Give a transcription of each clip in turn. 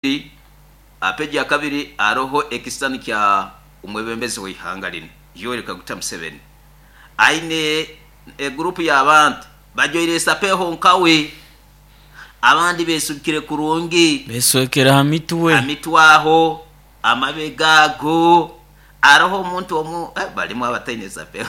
Aha peegi ya kabiri haroho ekisisani kya omwebembezi w'ihanga linu Yoweri Kaguta Museveni aine eguruupu y'abantu bajwaire esapeho nkawe, abandi besubikire kurungi. Beswekere ha mitwe. Ha mitwe aho, amabega ago, haroho omuntu omu balimu abataine esapeho.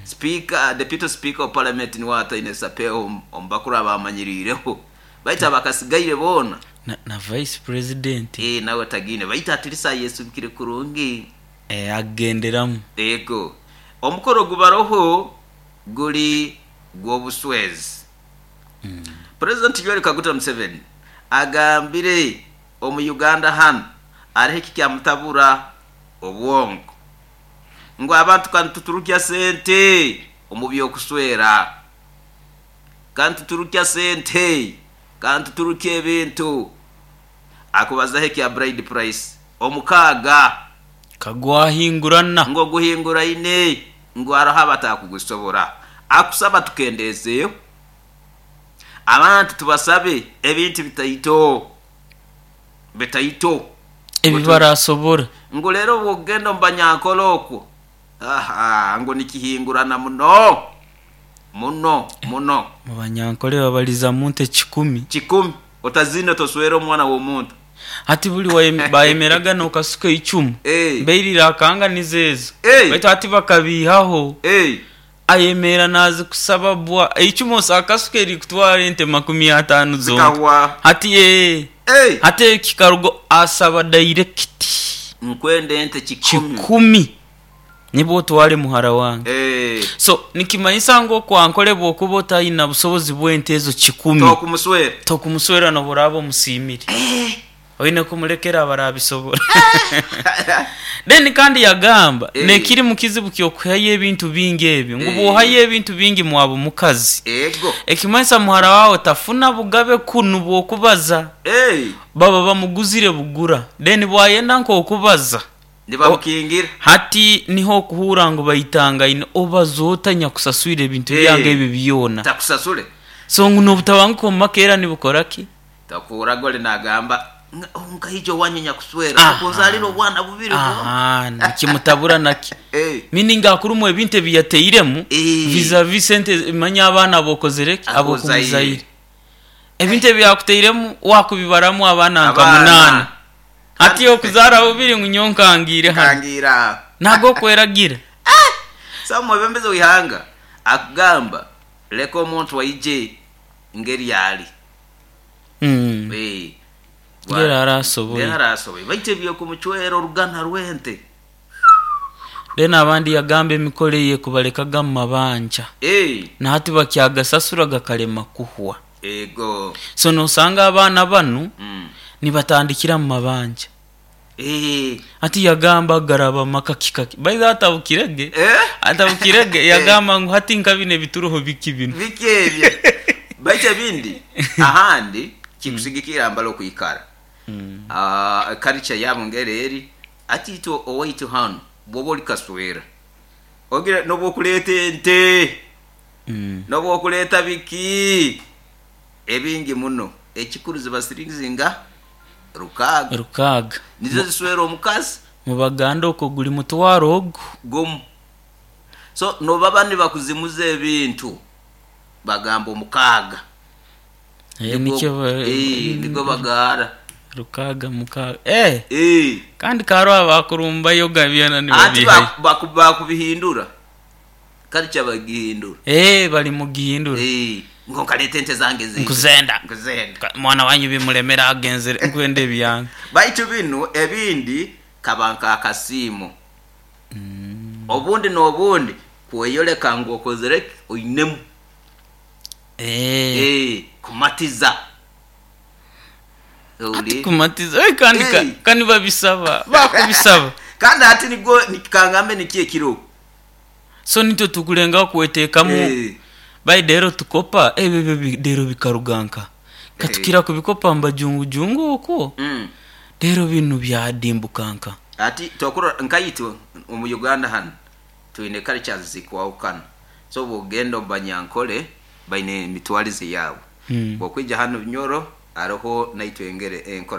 Sipiika, Deputy Speaker of Parliament nuwe ataine esapeho omu bakuru abamanyiriireho. Baitu abakasigaire boona. Na Vice President. Ee, nawe tagiine. Baitu atilisi ayesubikire kurungi. Ee, agenderamu. Ego. Omukoro ogubaroho guri gw'obuswezi. President Yoweri Kaguta Museveni agambire omu Uganda hanu hariho ekikyamutabura obwongo ngu abantu kanituturukya sente omu by'okuswera. Kanituturukya sente, kanituturukya ebintu. Akubazaho ekya bride price omukaaga. Ka gwahingurana. Ngu oguhinguraine ngu haroho abatakugusobora. Akusaba tukendeezeeho. Abantu tubasabe ebintu bitaito, bitaito. Ebi barasobora. Ngu leero obwokugenda omu Banyankole okwo, ahaa, ngu nikihingurana muno. Muno, muno. Mu Banyankole babaliza mu nte kikumi. Kikumi. Otaziina toswera omwana w'omuntu. Hati buli bayemeraga n'okasuka eicumu, bairire akanga nizo ezo. Baitu hati bakabiihaho. Ayemeera naazikusaba bwa. Eicumu akasuka erikutwara ente makumi ataano zonka. Hati ee. Hati ekikaruga asaba dairekiti. Nkwenda ente kikumi. Kikumi. Nibwo otware muhara wange. So nikimanyisa ngu oku Ankole bwokuba otayina busobozi bw'ente ezo kikumi, Tokumuswera. tokumuswera nobu oraaba omusiimire. Oine kumulekera abarabisobora. Then kandi yagamba nekiri mukizibu ky'okuhayo ebintu bingi ebyo ngu bwohayo ebintu bingi mwaba omukazi, ekimanyisa muhara waawe tafuna bugabe kunu bw'okubaza. Baba bamuguzire bugura. Then bwayenda nk'okubaza, Nibamukingira. Hati niho okuhuura ngu baitangaine, obaza ota nyakusaswire ebintu byange ebi byona? Takusasule. So ngu n'obutabanguko omu maka era nibukora ki? Tokuhurraga oli nagamba, Nkaija owanyu nyakuswera, okunzaalira obwana bubiri bwonka. Aha, nikimutabura naki? Meaning akurumwa ebintu ebi yatairemu vis-a-vis sente manya abaana ab'okozire ki? Ab'okumuzaire. Ebintu ebi yakutairemu wakubibaramu abaana nka munaana. Hati okuzaara bubiri ngu nyowe nkangiire hanu. Nkangiire aho. Nago okweragira. So omwebembezi w'eihanga akugamba leka omuntu aije ngeri ali. Ngeri arasoboire. Ngeri arasoboire. Baitu eby'okumucwera orugana rw'ente. Then abandi yagamba emikoro eye kubalekaga mu mabanja. Na hati bakyagasasura gakalema kuhwa. Ego. So nosanga abaana banu nibatandikira mu mabanja. Hati yagamba garaba maka kika ki? By the way atabukire ge, atabukire ge yagamba ngu hati nka binu ebituroho biki binu? Biki ebyo? Baitu ebindi ahandi kikusigikirra mbali okwikara. Culture yabo ngeri eri, hati itwe owaitu hanu bwoba oli kaswera, ogira nobwokuleeta ente. N'obw'okuleeta biki ebingi muno, ekikuru ziba siringi nga rukaaga. Rukaaga. Nizo ziswera omukazi. Mu Baganda okwo guli mutwaro ogu. Gumu. So nobaba nibakuzimuza ebintu, bagamba omukaaga. Nigwo bagaara. Rukaaga, mukaaga. Eh! Kandi kaaroho abakurumbayo byona Ati nibabiihayo. bakubihindura. Culture bagihindura. Eeh bali mugihindura. Eeh ngu nkaleta ente zange ziija. Nkuzenda. Nkuzenda. Mwana wanyu bimulemera agenzere nkwenda ebyange. Baitu binu ebindi kaba nk'akasiimo. Obundi n'obundi kweyoleka ngu okozere ki? Oinemu. Eeh. Eeh kumatiza. Hati kumatiza eh, kandi ka, ka nibabisaba bakubisaba. Kandi hati nigwo kangambe niki ekiroho. So nitwe tukulengaho kweteekamu by deero tukopa ebyo ebyo deero bikaruga nka? Ka tukira kubikopa mu bajungujungu okwo, deero binu byadimbuka nka? Hati tokurora nkaitwe omu Uganda hanu twine cultures zikwahukana. So bwogenda omu Banyankole baine emitwarize yaabo. Bwokwija hanu Bunyoro. Aroho naitwe engere enkora.